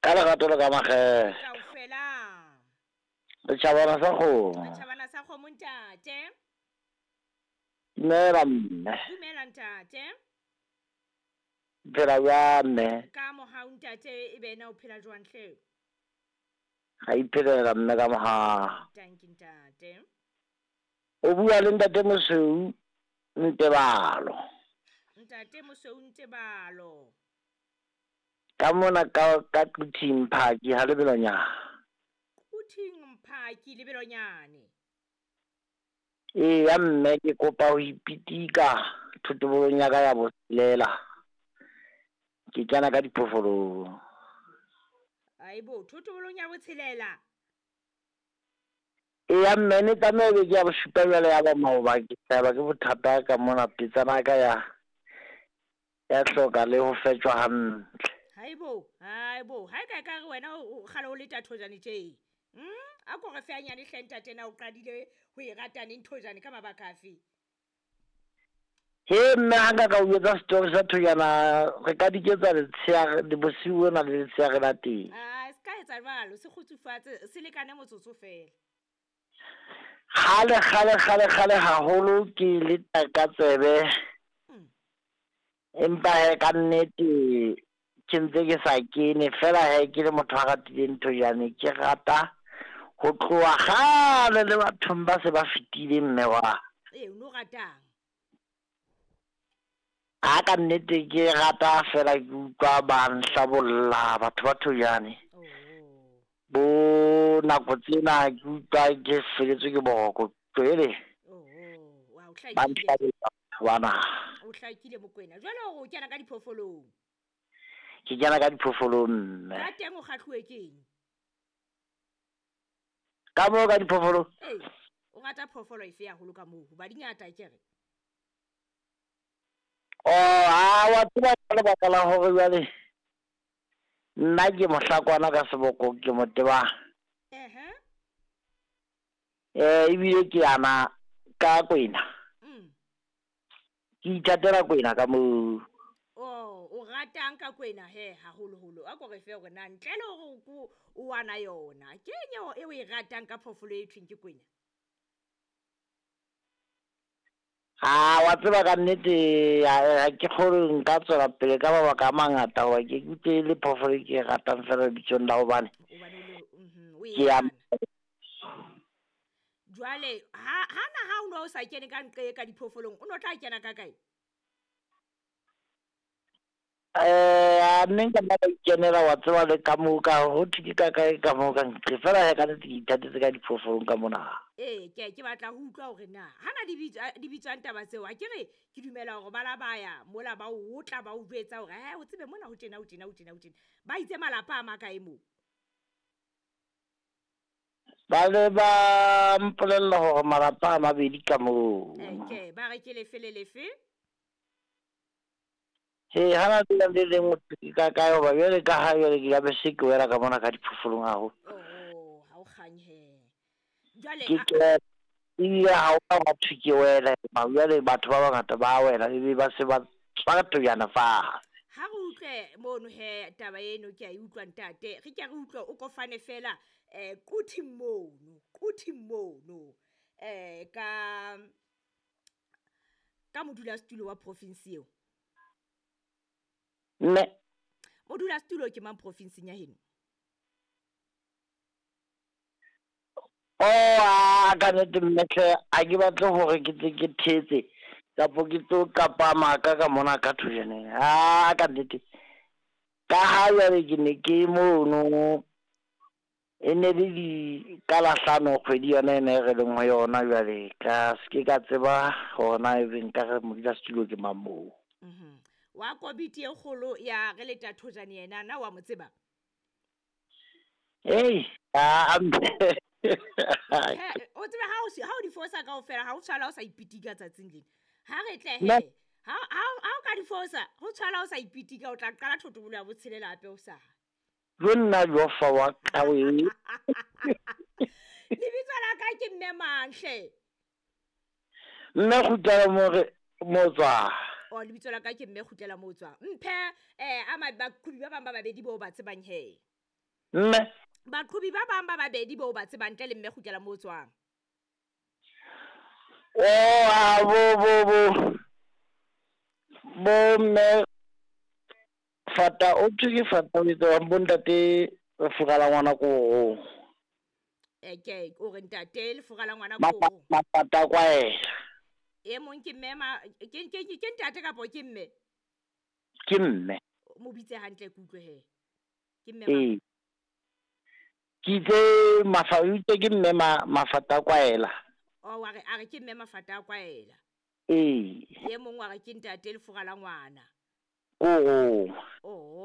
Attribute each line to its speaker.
Speaker 1: Ka lerato le ka makgethe.
Speaker 2: Kaofela.
Speaker 1: Setjhabana sa kgomo.
Speaker 2: Setjhabana sa kgomo ntate.
Speaker 1: Dumela mme.
Speaker 2: Dumela ntate.
Speaker 1: Phela jwang mme?
Speaker 2: Ka mohau ntate e be na o phela jwang hle?
Speaker 1: Ga iphelela mme ka mohau.
Speaker 2: Thank you ntate.
Speaker 1: O bua le ntate Mosweu Ntebalo.
Speaker 2: Ntate Mosweu Ntebalo.
Speaker 1: Ka mona ka ka Quthing Mphaki ha lebelonyane.
Speaker 2: Quthing Mphaki lebelonyane.
Speaker 1: Eya mme ke kopa ho ipitika thotobolong ya ka ya botshelela. Ke kena ka diphoofolong.
Speaker 2: Aibo, thotobolong ya botshelela.
Speaker 1: Eya mme ne tlameha ebe ke ya bosupa jwale ya ba maoba ke hlahelwa ke bothata ka mona petsana ya ka ya ya hloka le ho fetjwa hantle.
Speaker 2: Haibo, haibo, ha e ka e ka re wena o kgale o leta thojane tje. A ko re fe hanyane hle ntate na o qadile ho e rata neng thojane ka mabaka afe?
Speaker 1: He mme ha nka ka o jwetsa story sa thojana re ka diketsa letsheare bosiu bona le letsheare la teng.
Speaker 2: Ah, se ka etsa jwalo, se kgutsufatse, se lekane motsotso fela.
Speaker 1: Kgale kgale kgale kgale haholo ke le ka tsebe. Empa he ka nnete ke ntse ke sa kene fela he ke le motho a ratileng thojane ke rata ho tloha kgale le bathong ba se ba fetile mme wa.
Speaker 2: Ee, o no ratang?
Speaker 1: Ha ka nnete ke rata fela ke utlwa ba nhlabolla batho ba thojane.
Speaker 2: Oh.
Speaker 1: Bo nako tsena ke utlwa ke feletswe ke boroko jwale.
Speaker 2: Oh, wa o
Speaker 1: Ba
Speaker 2: hlakile.
Speaker 1: nhlabolla batho bana.
Speaker 2: O hlakile Mokwena. Jwale o kena ka diphoofolong.
Speaker 1: Ke kena ka diphoofolong mme.
Speaker 2: Ka teng o kgahluwe ke eng?
Speaker 1: Ka moo ka diphoofolong?
Speaker 2: Ee, o rata phoofolo efe haholo ka moo? Hoba di ngata akere.
Speaker 1: Oh, ha wa tseba ka lebaka la hore jwale nna ke mohlakwana ka seboko ke mo tebang.
Speaker 2: Ehe.
Speaker 1: Ebile ke yana ka kwena. Ke ithatela kwena ka moo.
Speaker 2: Oh, o ratang ka kwena he haholoholo? A ko re fe hore na ntle le hore ko o wana yona. Ke eng eo e o e ratang ka phoofolo e thweng ke kwena?
Speaker 1: Ha wa tseba ka nnete ha ke kgolwe nka tswela pele ka mabaka a mangata hoba ke utlwe le phoofolo e ke e ratang fela lebitsong la hobane
Speaker 2: Hobane o le o e
Speaker 1: ke ya
Speaker 2: yana. Jwale ha na ha o no sa kene ka nqe ka diphoofolong, o no tla kena ka kae?
Speaker 1: A nne nka nna ka ikenela wa tseba le ka moo ka ho thwe ke ka kae ka moo ka nqe fela he ka nnete ke ithatetse ka diphoofolong ka mona.
Speaker 2: Ee, ke ke batla ho utlwa hore na hana di bitswa di bitswang taba tseo. Ha ke re ke dumela hore ba la ba ya mola ba o otla ba o jwetsa hore he o tsebe mona ho tjena ho tjena ho tjena ho tjena. Ba itse malapa a makae moo?
Speaker 1: Ba le ba mpolella hore malapa a mabedi ka moo.
Speaker 2: Ke ba re ke lefe le lefe?
Speaker 1: He hana le le leng ke ka kae hoba jwale ka ha jwale ke ya be se ke wela ka mona ka diphoofolong haholo.
Speaker 2: Oh, ha o kganye he. Jwale
Speaker 1: Ke ke ebile ha o ka thwe ke wela jwale batho ba bangata ba wela ebe ba se ba tswa thojana fatshe.
Speaker 2: Ha re utlwe mono he taba eno ke a e utlwa ntate. Re ke re utlwe o kofane fela Quthing mono, Quthing mono. Ka ka modulasetulo wa province eo.
Speaker 1: Mme
Speaker 2: Modulasetulo ke mang provinseng ya heno?
Speaker 1: Oh, a ka nnete mme hle ha ke batle hore ke tle ke thetse kapo ke tlo qapa maka ka mona ka thojaneng. Ha ka nnete ka ha jwale ke ne ke mono e ne le di ka la hlano kgwedi yona ena e re leng ho yona jwale ka se ke ka tseba hore na ebe nka re modulasetulo ke mang moo.
Speaker 2: Wa komiti e kgolo ya re leta thojane yena na wa mo tseba?
Speaker 1: Hey, a
Speaker 2: O tsebe ha o ha o di fosa kaofela ha o tshwala o sa ipitika tsatsing lena. Ha re tle he. Ha o ka di fosa, ho tshwala o sa ipitika o tla qala thotobolo ya botshelela hape o sa.
Speaker 1: Jo nna jo fa wa ka we.
Speaker 2: Lebitso la ka ke mme mang hle?
Speaker 1: Mme Kgutlela mo re mo tswa.
Speaker 2: O lebitso la ka ke mme Kgutlela mo tswa. Mphe a bakhubi ba bang ba babedi bo ba tsebang he.
Speaker 1: Mme.
Speaker 2: Baqhobi ba bang ba babedi boo ba tsebang ntle le mme kgutlela moo o tswang.
Speaker 1: Oh, a bo bo bo bo mme Fata o thwe ke Fata o etsang bo ntate lefura la ngwana koro.
Speaker 2: Ke o re ntate lefura la ngwana koro.
Speaker 1: Mafata kwaela.
Speaker 2: E mong ke mme ma ke ke ke ntate kapo ke mme?
Speaker 1: Ke mme.
Speaker 2: Mo bitse hantle ke utlwe he. Ke mme.
Speaker 1: Ee. Ke itse mafa o itse ke mme ma mafata kwaela.
Speaker 2: Oh wa re a re ke mme mafata kwaela.
Speaker 1: Ee.
Speaker 2: E mong wa re ke ntate lefura la ngwana.
Speaker 1: Koro.
Speaker 2: Oh.